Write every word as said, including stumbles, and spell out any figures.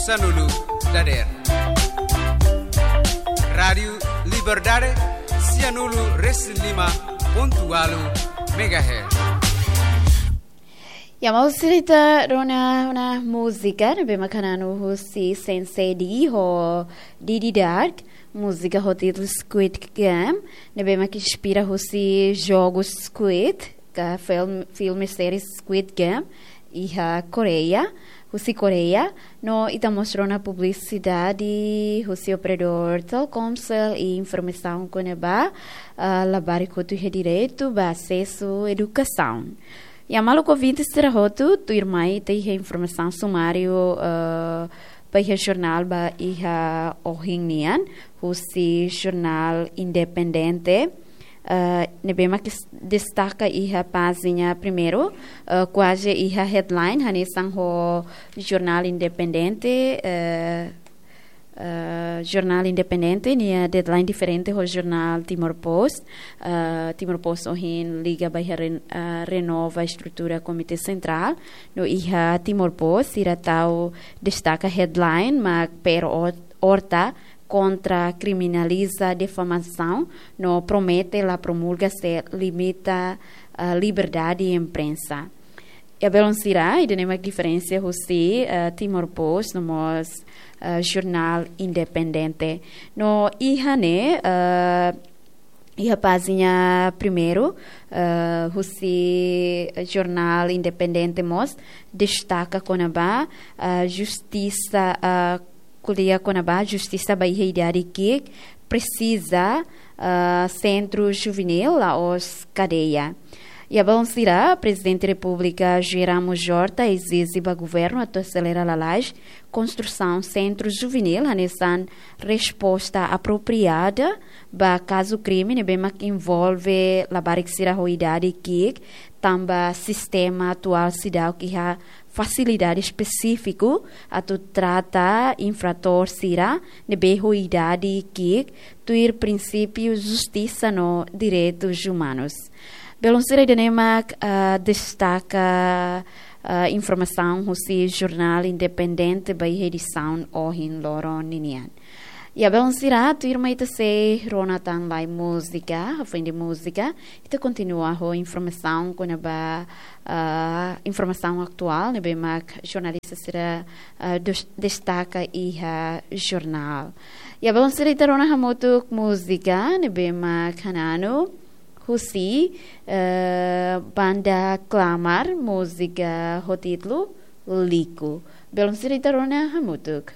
Sanulu dader. Rádiu Liberdade, sianulu resin lima pontu walu megahertz. Ya, mau serita rona na múzika, ne'ebé mak hananu husi Sensei D ho Didi Dark, múzika ho títulu Squid Game, ne'ebé mak inspira husi jogu Squid, ka film, filme série Squid Game, iha Koreia, husi Koreia, no ita mós rona publisidade, husi operadór Telkomcel i informasaun kona-ba, ah, labarik hotu iha direitu ba asesu edukasaun. Ya maluk ouvinte sira hotu, tuirmai ita iha informasaun sumáriu, eh, ba iha jornál ba iha ohin nian, husi jornál Independente, eh, ne'ebé mak destaka iha pájina primeiru, eh, kuaze iha headline, hanesan ho jornál Independente, eh, eh, jornál Independente, nia deadline diferente ho jornál Timor Post. Eh, Timor Post ohin liga ba iha ren-, eh, renova estrutura Komité Sentrál. No iha Timor Post, sira tau destaka headline, mak P R O Horta kontra kriminaliza difamasaun, no promete la promulga se limita, eh, liberdade imprensa. Ya belun sira, ida-ne'e mak diferensa husi, eh, Timor Post, no mós, eh, jornál Independente. No iha ne'e, eh, iha pájina primeiru, eh, husi jornál Independente mós destaka kona-ba, eh, justisa, eh, ko'alia kona-ba justisa ba iha idade ki'ik presiza, ah, sentru juvenil la'ós kadeia. Ya belun sira, Prezidente Repúblika José Ramos Horta ezije ba governu atu aselera lalais konstrusaun sentru juvenil, hanesan resposta apropriada ba kazu krime ne'ebé mak envolve labarik sira ho idade ki'ik, tanba sistema atuál seidauk iha fasilidade espesífiku atu trata infratór sira ne'ebé ho idade ki'ik tuir prinsípiu justisa no direitus umanus. Belun sira, ida-ne'e mak, ah, destaka, ah, informasaun husi jornál Independente ba iha edisaun ohin loron ninian. Ya belun sira, tuirmai ita sei rona tan lai múzika, hafoin de múzika, ita kontinua ho informasaun kona-ba, ah, informasaun atuál ne'ebé mak jornalista sira, ah, dus-, destaka iha jornál. Ya belun sira, ita rona hamutuk múzika ne'ebé mak hananu husi, eh, banda Klamar, múzika ho títulu Liku. Belun sira, ita rona hamutuk.